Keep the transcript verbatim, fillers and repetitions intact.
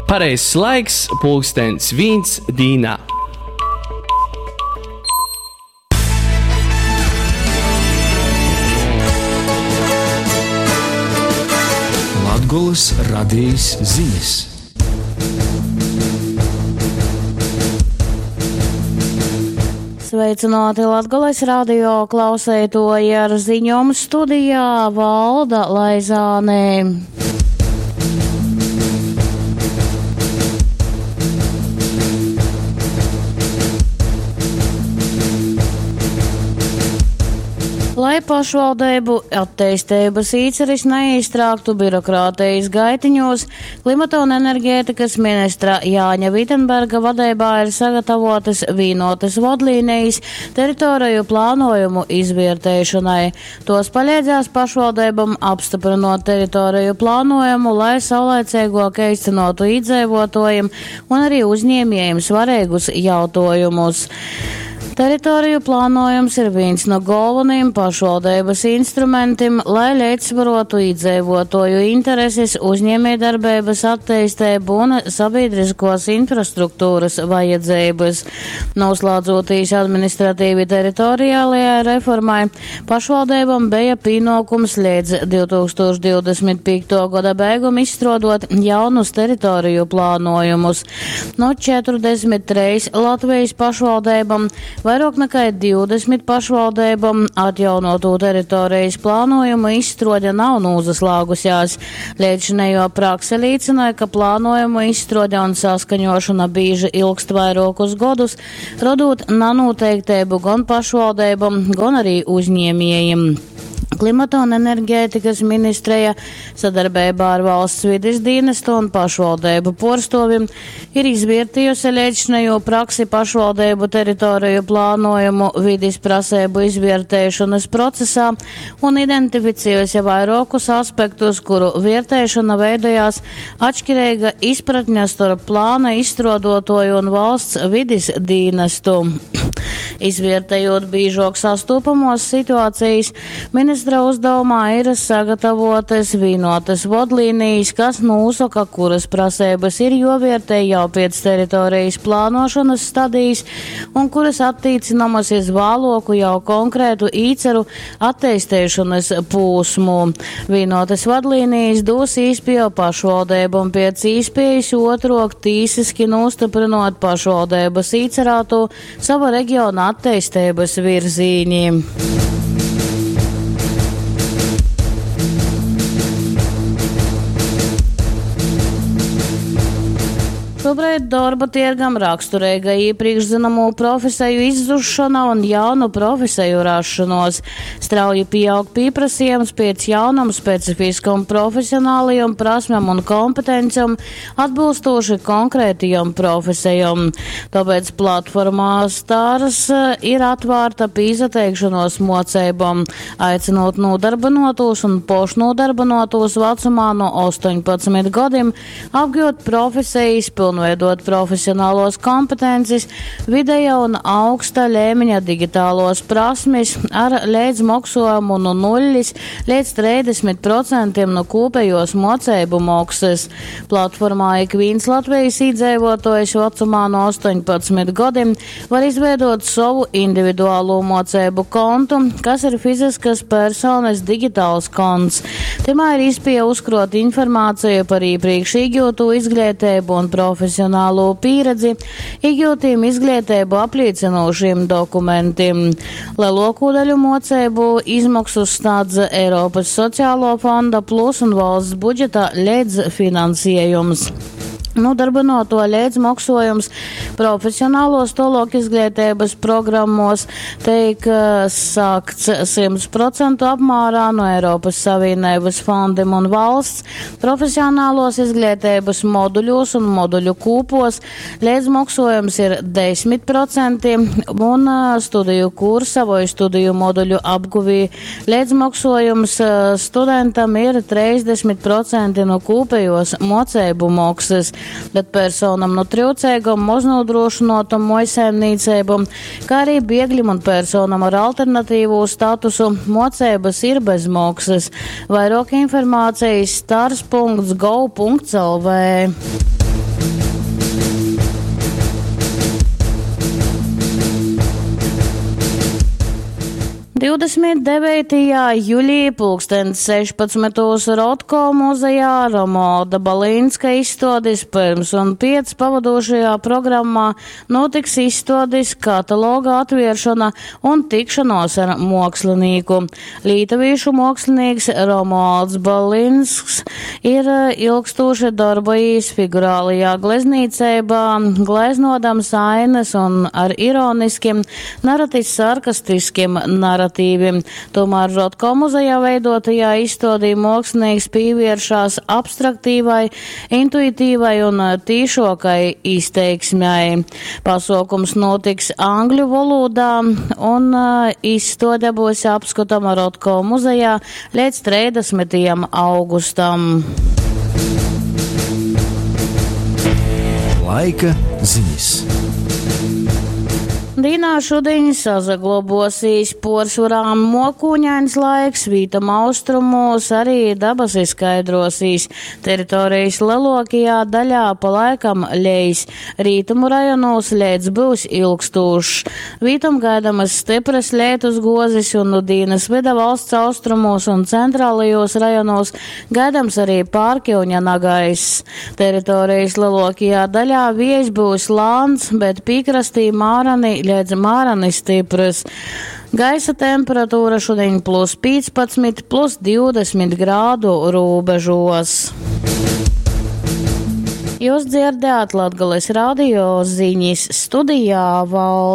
Pareizs laiks pulkstens vīns dīnā. Latgolys radejis zinis. Sveicināti Latgales radio klauseitoji ar ziņom studijā Valda Laizāne. Lai pašvaldību attīstības īceris neiztrāktu birokrātijas gaitiņos, klimata un enerģētikas ministra Jāņa Vitenberga vadībā ir sagatavotas vienotas vadlīnijas teritoriju plānojumu izvērtēšanai. Tos palīdzēs pašvaldībām apstiprinot teritoriju plānojumu, lai saulaicīgāk īstenotu iedzīvotājiem un arī uzņēmējiem svarīgus jautājumus. Teritoriju plānojums ir viens no galvenajiem pašvaldības instrumentiem, lai līdzsvarotu iedzīvotāju intereses, uzņēmējdarbības attīstību un sabiedriskos infrastruktūras vajadzības. Noslēdzoties administratīvi teritoriālajai reformai, pašvaldībām bija pienākums līdz divi tūkstoši divdesmit piekto gada beigum izstrādot jaunus teritoriju plānojumus. No četrdesmit trīs Latvijas pašvaldībām vairāk nekā divdesmit pašvaldībām atjaunoto teritorijas plānojumu izstrode nav nozaslāgusies. Līdzinējo prakse liecināja, ka plānojumu izstrode un saskaņošana bieži ilgst vairākus gadus, radot nanoteiktību gan pašvaldībām, gan arī uzņēmējiem. Klimata un enerģētikas ministrija sadarbībā ar valsts vides dienestu un pašvaldību porstovim ir izvērtījusi līdzinējo praksi pašvaldību teritoriju plānojumu vides prasību izvērtēšanas procesā un identificējusi vairākus aspektus, kuru vērtēšana veidojās atšķirīga izpratne starp plāna izstrādotoju un valsts vides dienestu. Izvērtējot biežāk sastopamos situācijas, ministra uzdevumā ir sagatavotas vienotas vadlīnijas, kas nosaka, kuras prasības ir jovērtē jau pēc teritorijas plānošanas stadijas un kuras attīcinamas iz vāloku jau konkrētu īceru attīstīšanas posmu. Vienotas vadlīnijas dos īspēju pašvaldībām pēc īspējas otrok tīsiski nostiprinot pašvaldības īcerāto sava reģiona attīstības virzīņi. Šobrīd darba tirgam raksturīga iepriekš zināmo profesiju izzušana un jaunu profesiju rašanos. Strauji pieaug pieprasījums pēc jaunam specifiskam profesionālajam prasmēm un kompetencijām atbilstoši konkrētajam profesijam. Tāpēc platformā Stars ir atvērta pīzateikšanos mocībām, aicinot nodarbinotos un pošnodarbinotos vecumā no astoņpadsmit gadiem apgūt profesijas pilnībā veidot profesionālos kompetences, vidēja un augsta līmeņa digitālos prasmes ar līdzmaksājumu no nulles līdz trīsdesmit procentiem no kopējos mocību maksas. Platformā ik viens Latvijas iedzīvotājs vecumā no astoņpadsmit gadiem var izveidot savu individuālo mocību kontu, kas ir fiziskas personas digitāls konts. Timā ir iespēja uzkrot informāciju par iepriekš iegūto izglītību un profesionālo profesionālo pieredzi, iegūtiem izglītību apliecinošiem dokumentiem. Lielāko daļu mocību izmaksu sniedz Eiropas Sociālo fonda plus un valsts budžeta līdzfinansējums. Nodarbinoto līdzmaksojums profesionālos tolok izglītības programmos tiek sākts simts procentu apmērā no Eiropas Savienības fondiem un valsts. Profesionālos izglītības moduļos un moduļu kūpos līdzmaksojums ir desmit procenti un studiju kursa vai studiju moduļu apguvī līdzmaksojums studentam ir trīsdesmit procenti no kūpējos mocību maksas. Bet personam no trūcīgam, maznodrošinātam mojsaimniecībam, kā arī biegļiem un personam ar alternatīvo statusu mocības ir bez maksas. Vairāk informācijas stars punkts gov punkts lv. divdesmit deveitajā juļī pulkstens sešpadsmitūs Rotko muzejā Romualda Balinska izstuodis Pirms un piec pavadošajā programmā notiks izstuodis kataloga atvieršana un tikšanos ar muokslinīku. Lītuvīšu muokslinīks Romualds Balinsks ir ilgstoši darbojies figurālajā gleznīcībā, gleznodams ainas un ar ironiskiem, naratis sarkastiskiem naratīviem. Tomēr Rotko muzejā veidotajā izstādī mākslinieks pievēršās abstraktīvai, intuitīvai un tīšokai izteiksmei. Pasaukums notiks angļu valodā un izstāde būs apskatama Rotko muzejā līdz trīsdesmitajam augustam. Laika ziņas. Dīnā šodien sazaglobosīs poršurā mokūņains laiks, vītam austrumos arī dabas skaidrosīs. Teritorijas lielākajā daļā pa laikam lejas. Rītumu rajonos lietus būs ilgstūšs. Vītam gaidamas stipras lietus gozis un nu dīnas vida valsts austrumos un centrālajos rajonos gaidams arī pārkiuņa nagaiss. Teritorijas lielākajā daļā viejs būs lāns, bet piekrastī mārani līdz mārani stipras. Gaisa temperatūra šodien plus piecpadsmit, plus divdesmit grādu robežos. Jūs dzirdējāt Latgales radio ziņas studijā Valda.